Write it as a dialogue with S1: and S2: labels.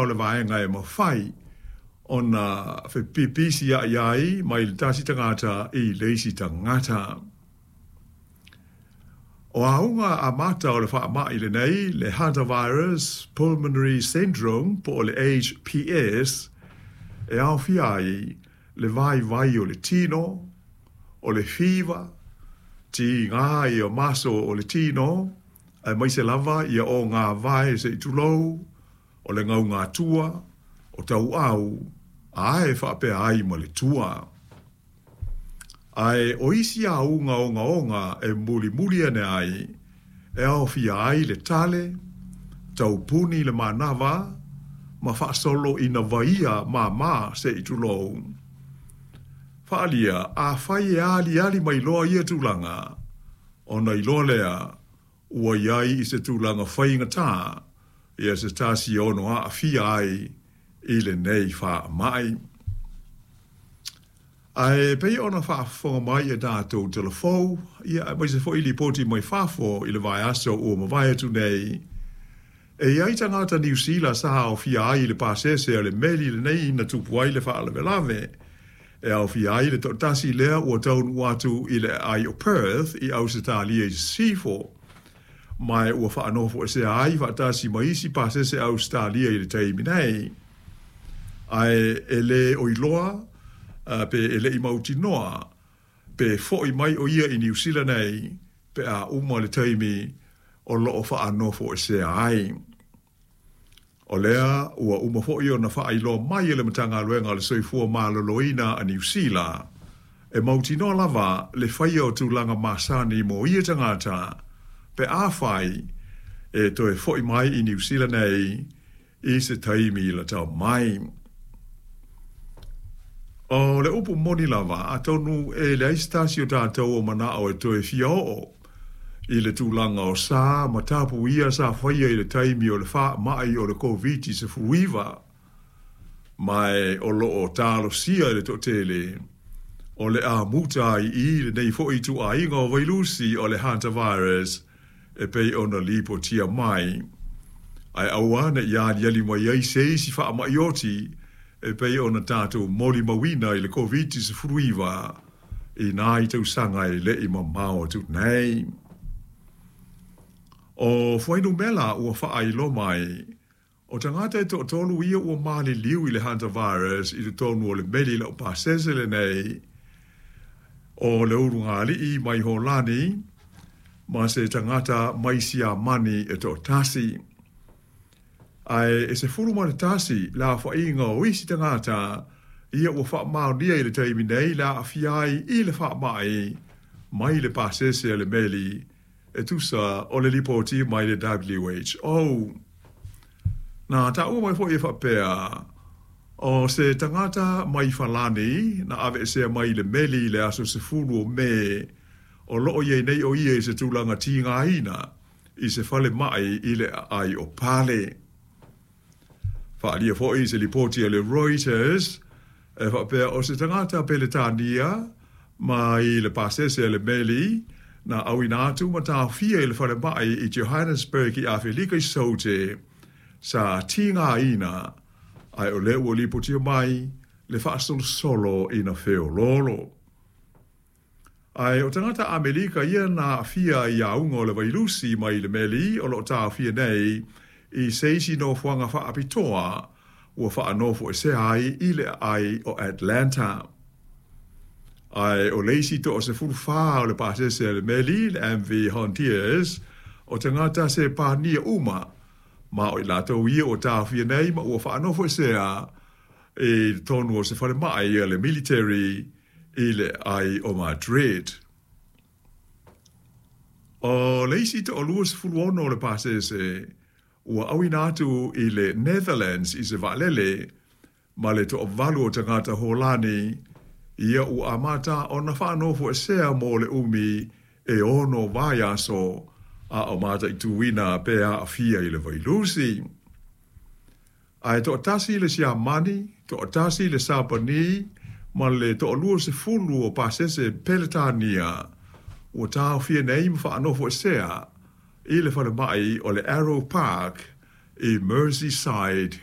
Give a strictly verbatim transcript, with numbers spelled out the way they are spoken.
S1: o le vaega e mafai ona fepipisia'i ai mai le tasi tagata i le isi tagata. O auga amata o le faama'i lenei, le Hantavirus Pulmonary Syndrome po o le H P S, e aofia ai le vaivai o le tino, o le fiva, tigā ia maso o le tino, aemaise lava ia o ngā vae se i tulou, o le gaugatua, o tauau, ae faapea ai ma le tua. Ae o isi auga ogaoga e mulimuli ane ai, e aofia ai le tale, taupuni le manava, ma faasolo ina vaia māmā se i tulou. Faalia, afai e aliali mai loa ia tulaga, ona iloa lea, ua iai i se tulaga faigatā, ia se tasi ono aafia ai i lenei faama'i. Ae pei ona faafofoga mai e tatou telefou, ia aemaise foi lipoti mai fafo i le vaiaso ua mavae atu nei. E iai tagata Niu Sila sa aofia ai i le pasese a le meli lenei na tupu ai le faalavelave. E aofia ai le toatasi lea ua taunuu atu i le aai o Perth i Ausetalia i Sisifo. Ma ua faanofoesea ai faatasi ma isi pasese Ausetalia i le taimi nei. Ae e lē o iloa pe e le'i mautinoa pe fo'i mai o ia i Niu Sila nei pe a uma le taimi o loo faanofoesea ai. O lea ua uma fo'i ona faailoa mai e le Matagaluega o le Soifua Maloloina a Niu Sila e mautinoa lava le faia o tulaga masani mo ia tagata pe afai e toe fo'i mai i Niu Sila nei i se taimi latau mai. O le upu moni lava, atonu e leai se tasi o tatou o manao e toe fia oo i le tulaga o sa ma tapu ia sa faia i le taimi o le faama'i o le COVID sefuluiva, ma e o loo talosia e le toatele o le amuta ai i lenei fo'i ituaiga o vailusi o le Hantavirus e pei ona lipotia mai. Ae aua ne'i aliali mai ai se isi faama'i oti e pei ona tatou molimauina i le COVID sefuluiva i nai tausaga e le'i mamao atu nei. O fuainumela ua faailoa mai, o tagata e toatolu ia ua maliliu i le Hantavirus i totonu o le meli laupasese lenei, o le ulugalii mai Holani, ma se tagata mai Siamani e toatasi. Ae e sefulu ma le tasi le aofaiga o isi tagata ia ua faamaonia i le taimi nei le aafia ai i le faama'i mai le pasese a le meli e tusa o le lipoti mai le W H O. Na taua mai fo'i e faapea, o se tagata mai Falani na aveesea mai le meli i le aso sefulu o Me o loo iai nei o ia i se tulaga tigaina i se falema'i i le aai o Pale. Faalia fo'i se lipoti a le Reuters e faapea o se tagata Peletania mai le pasese a le meli na auina atu ma taofia i le falema'i i Johannesburg i Afelika i Saute sa tigaina ae o lea ua lipotia mai le faasolosolo ina feoloolo. Ae o tagata Amelika ia na aafia i auga o le vailusi mai le meli o loo taofia nei i se isi nofoaga faapitoa ua faanofoesea ai i le aai o Atlanta. Ae o le isi toasefulufa o le pasese a le meli, le M V Hondius, o tagata se pania uma, ma o i latou ia o taofia nei ma ua faanofoesea i totonu o se falema'i a le military i le aai o Madrid. O le isi toaluasefuluono o le pasese ua auina atu i le Netherlands i se vaalele ma le toavalu o tagata Holani ia ua amata ona faanofoesea mo le umi e ono vaiaso a o mataituina pe aafia i le vailusi. Ae toatasi le Siamani, toatasi le Sapani, ma le toaluasefulu o pasese Peletania ua taofia nei ma faanofoesea i le falema'i o le Arrow Park i Merseyside